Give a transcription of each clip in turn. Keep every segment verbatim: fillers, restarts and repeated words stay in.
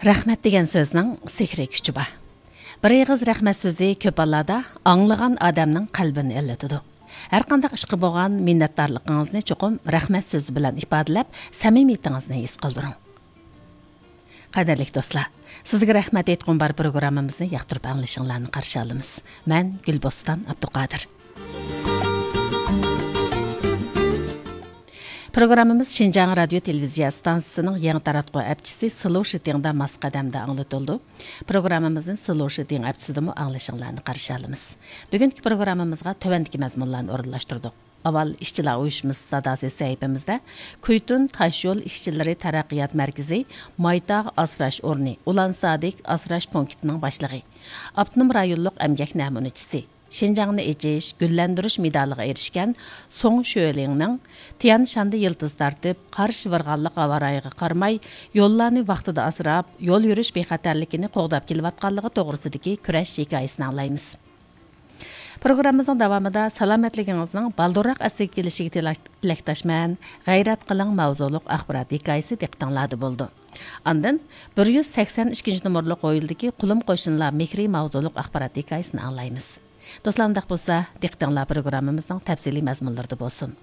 رەھمەت دېگەن سۆزنىڭ سېھرىي كۈچى بار. بىر ئېغىز رەھمەت سۆزى كۆپ ھاللاردا ئاڭلىغان ئادەمنىڭ قەلبىنى ئىللىتىدۇ. ھەرقانداق ئىشقا بولغان مىننەتدارلىقىڭىزنى چوقۇم رەھمەت سۆزى بىلەن ئىپادىلەپ، سەمىمىيىتىڭىزنى ھېس قىلدۇرۇڭ. قەدىرلىك دوستلار، سىزگە رەھمەت ئېيتقۇم بار پروگراممىمىزنى ياقتۇرۇپ ئاڭلىشىڭلارنى قارشى ئالىمىز. مەن گۈلبوستان ئابدۇقادىر. پروگراممىمىز شىنجاڭ رادىيو تېلېۋىزىيە ئىستانسىسىنىڭ يېڭى تاراتقۇ ئەپچىسى سلو شىتىڭدا ماس قەدەمدە ئاڭلىتىلىدۇ. پروگراممىمىزنى سلو شىتىڭ ئەپچىسىدىمۇ ئاڭلىشىڭلارنى قارشى ئالىمىز. بۈگۈنكى پروگراممىمىزغا تۆۋەندىكى مەزمۇنلارنى ئورۇنلاشتۇردۇق. ئاۋۋال ئىشچىلار ئۇيۇشمىسى ساداسى سەھىپىمىزدە كۈيتۈن تاشيول ئىشچىلىرى تەرەققىيات مەركىزى مايتاغ ئاسراش ئورنى ئۇلان سادىك ئاسراش پونكىتىنىڭ باشلىقى، ئاپتونوم رايونلۇق ئەمگەك نەمۇنىچىسى، شىنجاڭنى ئېچىش، گۈللەندۈرۈش مېدالىغا ئېرىشكەن سۇڭ شۆلىڭنىڭ تيەن شاندا يىلتىز تارتىپ، قار شىۋىرغانلىق ھاۋارايىغا قارىماي، يوللارنى ۋاقتىدا ئاسراپ، يول يۈرۈش بىخەتەرلىكىنى قوغداپ كېلىۋاتقانلىقى توغرىسىدىكى كۈرەش ھېكايىسىنى ئاڭلايمىز. پروگراممىمىزنىڭ داۋامىدا سالامەتلىكىڭىزنىڭ بالدۇرراق ئەسلىگە كېلىشىگە تىلا-، تىلەكداشمەن، غەيرەت قىلىڭ ماۋزۇلۇق ئاخبارات ھېكايىسى دىققىتىڭلاردا بولىدۇ. ئاندىن بىر يۈز سەكسەن ئىككىنچى نومۇرلۇق ھويلىدىكى قۇلۇم قوشنىلار مېھرى ماۋزۇلۇق ئاخبارات ھېكايىسىنى ئاڭلايمىز. دوستلار، ئۇنداق بولسا، دىققىتىڭلار پروگراممىمىزنىڭ تەپسىلىي مەزمۇنلىرىدا بولسۇن.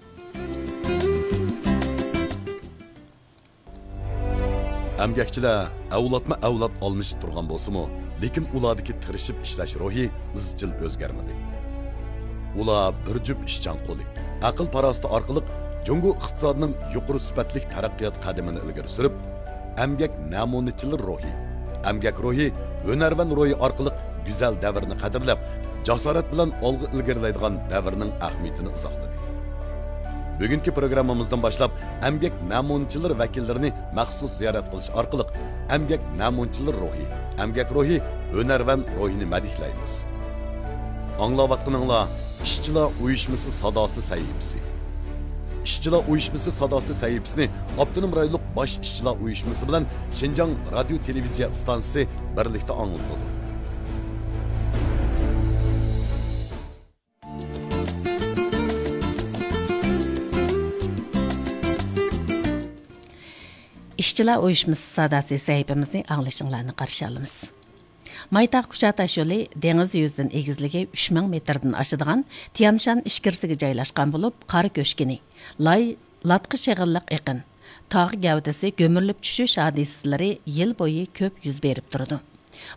ئەمگەكچىلەر ئەۋلادمۇ ئەۋلاد ئالمىشىپ تۇرغان بولسىمۇ، لېكىن ئۇلاردىكى تىرىشىپ ئىشلەش روھى ئىزچىل ئۆزگەرمىدى. ئۇلار بىر جۈپ ئىشچان قولى، ئەقىل-پاراسىتى ئارقىلىق جۇڭگو ئىقتىسادىنىڭ يۇقىرى سۈپەتلىك تەرەققىيات قەدىمىنى ئىلگىرى سۈرۈپ، ئەمگەك نەمۇنىچىلىرى روھى، ئەمگەك روھى، ھۈنەرۋەن روھى ئارقىلىق گۈزەل دەۋرنى قەدىرلەپ، جاسارەت بىلەن ئالغا ئىلگىرىلەيدىغان دەۋرنىڭ ئەھمىيىتىنى ئىزاھلىدى. بۈگۈنكى پروگراممىمىزدىن باشلاپ ئەمگەك نەمۇنىچىلىرى ۋەكىللىرىنى مەخسۇس زىيارەت قىلىش ئارقىلىق ئەمگەك نەمۇنىچىلىرى روھى، ئەمگەك روھى، ھۈنەرۋەن روھىنى مەدھىيلەيمىز. ئاڭلاۋاتقىنىڭلار ئىشچىلار ئۇيۇشمىسى ساداسى سەھىپىسى. ئىشچىلار ئۇيۇشمىسى ساداسى سەھىپىسىنى ئاپتونوم رايونلۇق باش ئىشچىلار ئۇيۇشمىسى بىلەن شىنجاڭ رادىيو تېلېۋىزىيە ئىستانسىسى بىرلىكتە ئاڭلىتىدۇ. ئىشچىلار ئۇيۇشمىسى ساداسى سەھىپىمىزنى ئاڭلىشىڭلارنى قارشى ئالىمىز. مايتاغ كۇچا تاشيولى دېڭىز يۈزىدىن ئېگىزلىكى ئۈچ مىڭ مېتىردىن ئاشىدىغان تيەنشان ئىچكىرىسىگە جايلاشقان بولۇپ، قار كۆشكىنى، لاي، لاتقا شېغىللىق ئېقىن، تاغ گەۋدىسى گۈمۈرۈلۈپ چۈشۈش ھادىسىلىرى يىل بويى كۆپ يۈز بېرىپ تۇرىدۇ.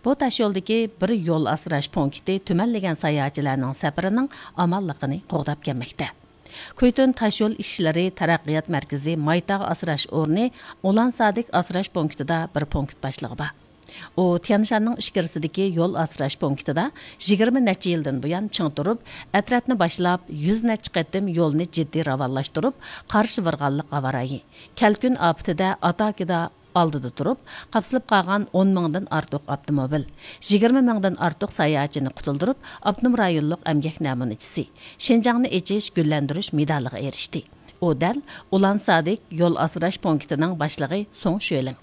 بۇ تاشيولدىكى بىر يول ئاسراش پونكىتى تۈمەنلىگەن ساياھەتچىلەرنىڭ سەپىرىنىڭ ئامانلىقىنى قوغداپ كەلمەكتە. كۈيتۈن تاشيول ئىشلىرى تەرەققىيات مەركىزى مايتاغ ئاسراش ئورنى ئۇلان سادىك ئاسراش پونكىتىدا بىر پونكىت باشلىقى بار. ئۇ تيەنشاننىڭ ئىچكىرىسىدىكى يول ئاسراش پونكىتىدا يىگىرمە نەچچە يىلدىن بۇيان چىڭ تۇرۇپ، ئەترەتنى باشلاپ، يۈز نەچچە قېتىم يولنى جىددىي راۋانلاشتۇرۇپ، قار شىۋىرغانلىق ھاۋارايى، كەلكۈن ئاپىتىدە ئاتاكىدا ئالدىدا تۇرۇپ، قاپسىلىپ قالغان ئون مىڭدىن ئارتۇق ئاپتوموبىل، يىگىرمە مىڭدىن ئارتۇق ساياھەتچىنى قۇتۇلدۇرۇپ، ئاپتونوم رايونلۇق ئەمگەك نەمۇنىچىسى، شىنجاڭنى ئېچىش، گۈللەندۈرۈش مېدالىغا ئېرىشتى. ئۇ دەل ئۇلان سادىك يول ئاسراش پونكىتىنىڭ باشلىقى سۇڭ شۆلىڭ.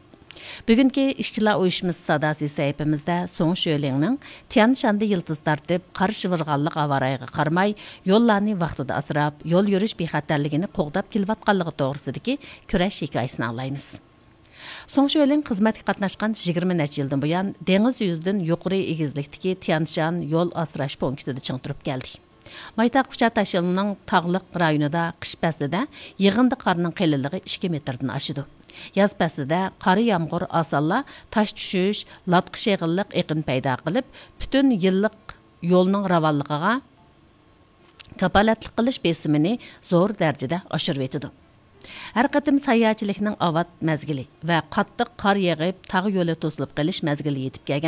بۈگۈنكى ئىشچىلار ئۇيۇشمىسى ساداسى سەھىپىمىزدە سۇڭ شۆلىڭنىڭ تيەنشاندا يىلتىز تارتىپ، قار شىۋىرغانلىق ھاۋارايىغا قارىماي، يوللارنى ۋاقتىدا ئاسراپ، يول يۈرۈش بىخەتەرلىكىنى قوغداپ كېلىۋاتقانلىقى توغرىسىدىكى كۈرەش ھېكايىسىنى ئاڭلايمىز. سۇڭ شۆلىڭ خىزمەتكە قاتناشقان يىگىرمە نەچچە يىلدىن بۇيان دېڭىز يۈزىدىن يۇقىرى ئېگىزلىكتىكى تيەنشان يول ئاسراش پونكىتىدا چىڭ تۇرۇپ كەلدى. مايتاغ كۇچا تاشيولىنىڭ تاغلىق رايونىدا قىش پەسلىدە يىغىندى قارنىڭ قېلىنلىقى ئىككى مېتىردىن ئاشىدۇ. ياز پەسلىدە قارا يامغۇر ئاسانلا تاش چۈشۈش، لاتقا شېغىللىق ئېقىن پەيدا قىلىپ، پۈتۈن يىللىق يولنىڭ راۋانلىقىغا كاپالەتلىك قىلىش بېسىمىنى زور دەرىجىدە ئاشۇرۇۋېتىدۇ. ھەر قېتىم ساياھەتچىلىكنىڭ ئاۋات مەزگىلى ۋە قاتتىق قار يېغىپ، تاغ يولى توسۇلۇپ قېلىش مەزگىلى يېتىپ كەلگەن